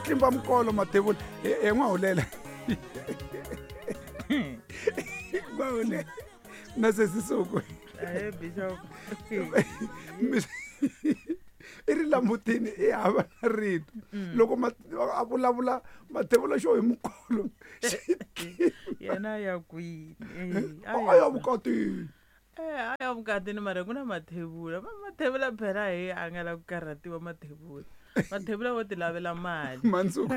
tlimba mikolo mathevula e n'wahulela n'wahulela na sesisuku Ahe, bishop. I ri lamutini i hava na rito loko a vulavula mathevula xo hi mukolo. Yena ya kwini? A ya vukatini. A ya vukatini mara ku na mathevula. Mathevula phela hi a nga la ku karhatiwa mathevula. Mathevula wo ti lavela mali. Mandzuku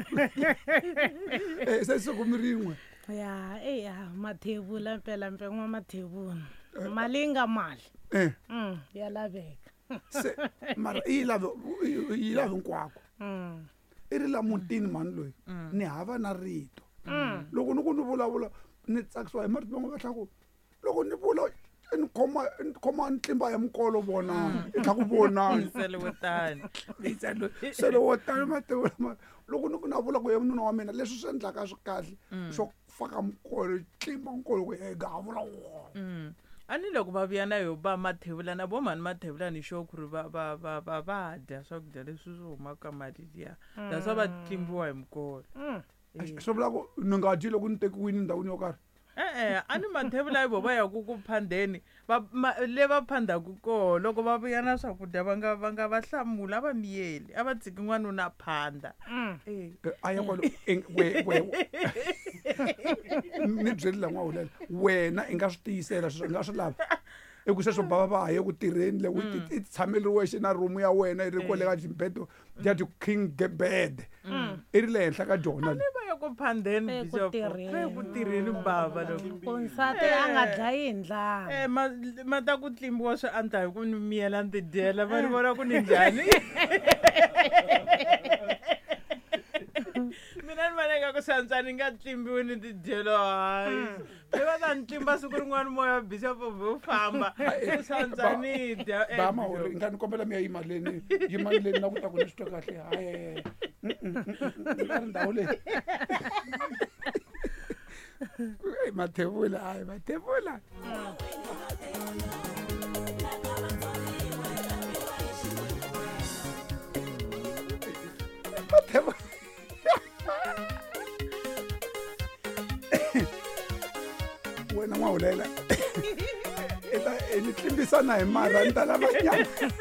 se siku mi rin'we. Ya eya mathevula mpela mpen'wa mathevula mali yi nga mali. Ya laveka. Se mara i yi lave yi lave hinkwako. I ri la mutini mhani loyi ni hava na rito loko ni ku ni vulavula ni tsakisiwa hi marito man'we va tlha ku loko ni vula ni khoma ni khoma ni tlimba ya mikolo vonani i tlha ku vonani. Nsele wo tani. Sele wo tani mathevula ma loko ni ku na vula ku ye nuna wa mina leswi swi endlaka swi kahle swo faka mikolo tlimba mikolo ku e gavula wona. A ni loko va vuya na yo ba mathevula na vo mhani mathevula ni sure ku ri va va va va va dya swakudya leswi swi humaka ka mali liya. That's why va tlimbiwa hi mikolo. Swi vula ku ni nga dyi loko ni tekiwini ndhawini yo karhi? E-e, a ni mathevula hi vo va yaku ku phandeni va le va phandaku koho loko va vuya na swakudya va nga va nga va hlamula a va miyeli a va tshiki n'wanuna a phanda. A ya kwalo we we ni byeli la n'wahulela wena i nga swi tiyisela sweswo i nga swi lava i ku sweswo bava va ha ye ku tirheni le i tshameli wexe na room ya wena i ri kwale ka ximbedo ya ti-king bed i ri le henhla ka jona le. Va ya ku phandeni bishop va ya ku tirheni bava loko ku nsati a nga dlayi hi ndlala. Ma ta ku tlimbiwa swi andla hi ku ni miyela ni tidyela va ni vona ku ni njhani. Mina ni vona ingaku swi antswa ni nga tlimbiwi ni tidyela hayi. Se va ta ni tlimba siku rin'wana moya bishop wu famba se swi antswa ni dya. Ba mahori nga ni kombela mi ya yima leni yimani leni na ku ta ku ni swi twa kahle hayi nga ri ndhawu leyi mathevula hayi mathevula. Mathevula wena n'wahulela i ta ni tlimbisana hi marha ni ta lava nyama.